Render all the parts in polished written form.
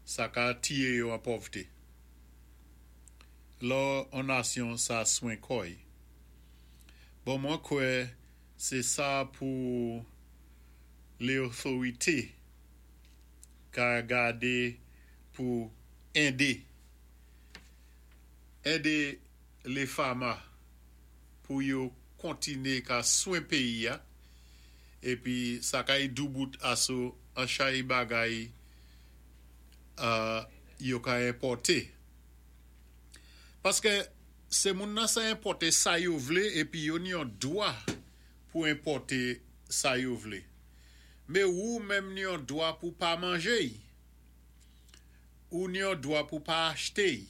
Sa ka tiyé yo an pòvté. Lò an nasyon sa swen kò-y. Bon, mwen kwè sé sa pou lé otorité ka gadé pou édé lé fama pou yo kontiné ka swen péyi-a, épi sa kay doubout aso an chay bagay yo ka enpòté. Paskè sé moun nan sa enpòté sa yo vlé épi yo ni yon dwa pou enpòté sa yo vlé. Mé ou menm ni yon dwa pou pa manjé-y. Ou ni yon dwa pou pa achté-y.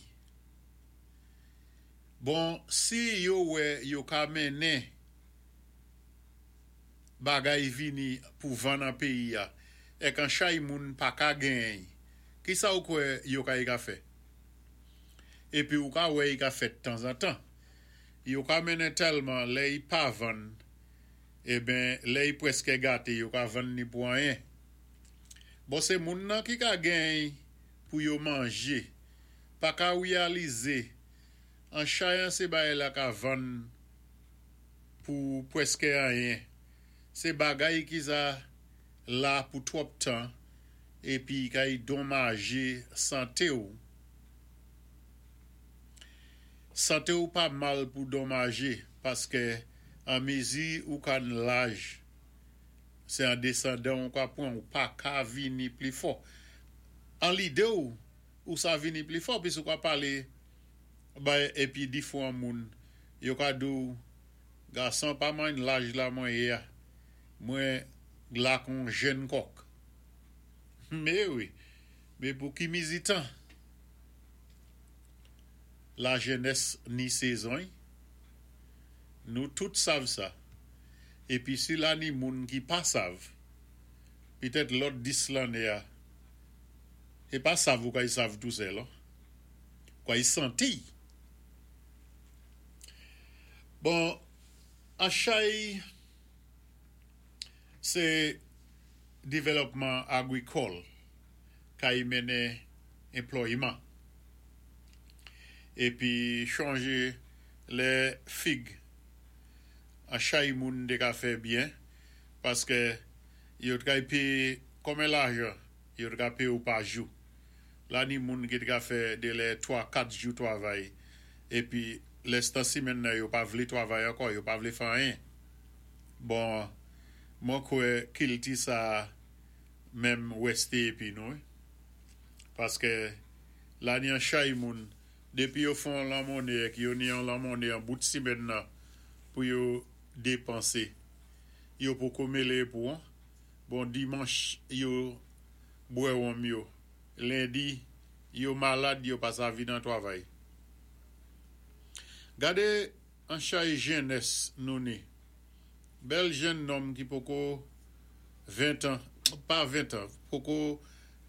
Bon, si yo wè yo ka mennen bagay vini pou vann an péyi-a, èk an chay moun pa ka genyen-y, ki sa ou kwè yo kay ka fè? Épi ou ka wè i ka fèt tanzantan. Yo ka mennen tèlman lè i pa vann, eben lè i pwèskè gaté yo ka vann ni pou anyen. Bon, sé moun nan ki ka genyen pou yo manjé, pa ka wéyalizé an chay an sé bagay la ka vann pou pwèskè anyen. Sé bagay ki sa la pou twòp tan épi kay donmajé santé-w. Santé-w pa mal pou donmajé paskè an mézi ou ka n laj, sé an désandan ou ka pwan, ou pa ka vini pli fò. An lidé-w, ou sa vini pli fò pis ou ka palé bay épi difwan moun yo ka di-w, "Gason, pa many laj la mwen yé-a, mwen la kon jenn kòk." Mé wi, mé pou ki mizi tan? La jenès ni sézon-y. Nou tout sav sa. Épi si la ni moun ki pa sav, pitèt lòt 10 lanné-a, sé pa sav ou kay sav tou sèl, an. Ou kay santi. Bon, an chay sé dévlòpman agwikòl kay mennen enplòyman. Épi chonjé lè fig an chay moun té ka fè byen paskè yo t kay péyé konben lajan yo t ka péyé-w pa jou. La ni moun ki t ka fè dé lè 3, 4 jou twavay épi lès tan simenn nan yo pa vlé twavay ankò, yo pa vlé fè anyen. Bon, mwen kwè kilti sa menm wèsté épi nou wi. Paskè la ni an chay moun dépi yo fè on lanmonné èk yo ni yon lanmonné an bout simenn nan pou yo dépansé, yo poko mélé pou an. Bon, dimanch yo bwè wonm yo, lendi yo malad yo pa sa vin an twavay. Gadé an chay jennès nou ni. Bèl jenn nonm ki poko 20 tan, pa 20 tan, poko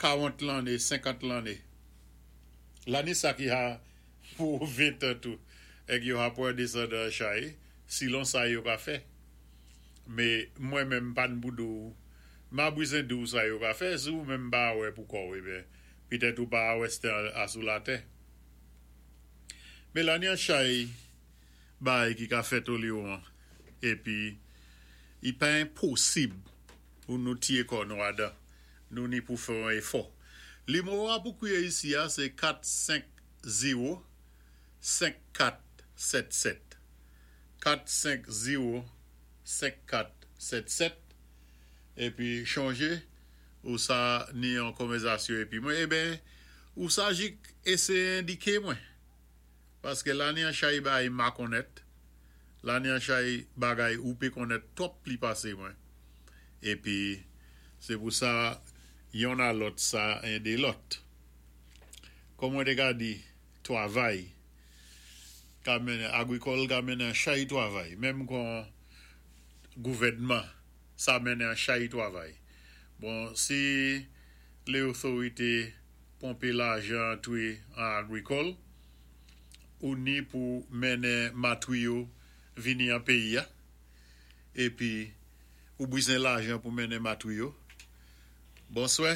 40 lanné, 50 lanné. Lanné sa ki ha pou 20 tan tou, èk yo ha pwan désandan an chay, silon sa yo ka fè. Mé mwen menm pa n pou di-w, ma bwizen di-w sa yo ka fè, si ou menm pa wè pou kò-w, eben, pitèt ou pa wèstè asou latè. Mé la ni an chay bagay ki ka fèt Oliwon, épi i pa enposib pou nou tiyé kò nou adan, nou ni pou fè yon éfò. Limwo-a pou kwiyé isi-a sé 4 5 0 5 4 7 7. 4 5 0 5 4 7 7. Épi chonjé ou sa ni yon konvèzasyon épi mwen, eben, ou sa jik éséyé endiké mwen. Paskè la ni an chay bagay ma konnèt, la ni an chay bagay ou pé konnèt twòp pli pasé mwen. Épi sé pou sa yonn a lòt sa édé lòt. Kòm mwen té ka di, twavay ka mennen, agwikòl ka mennen an chay twavay, menm kon gouvèdman sa mennen an chay twavay. Bon, si lé otorité ponpé lajan antré an agwikòl, ou ni pou mennen matwiyo vini an péyi-a, épi ou bwizen lajan pou mennen matwiyo. Bonswè.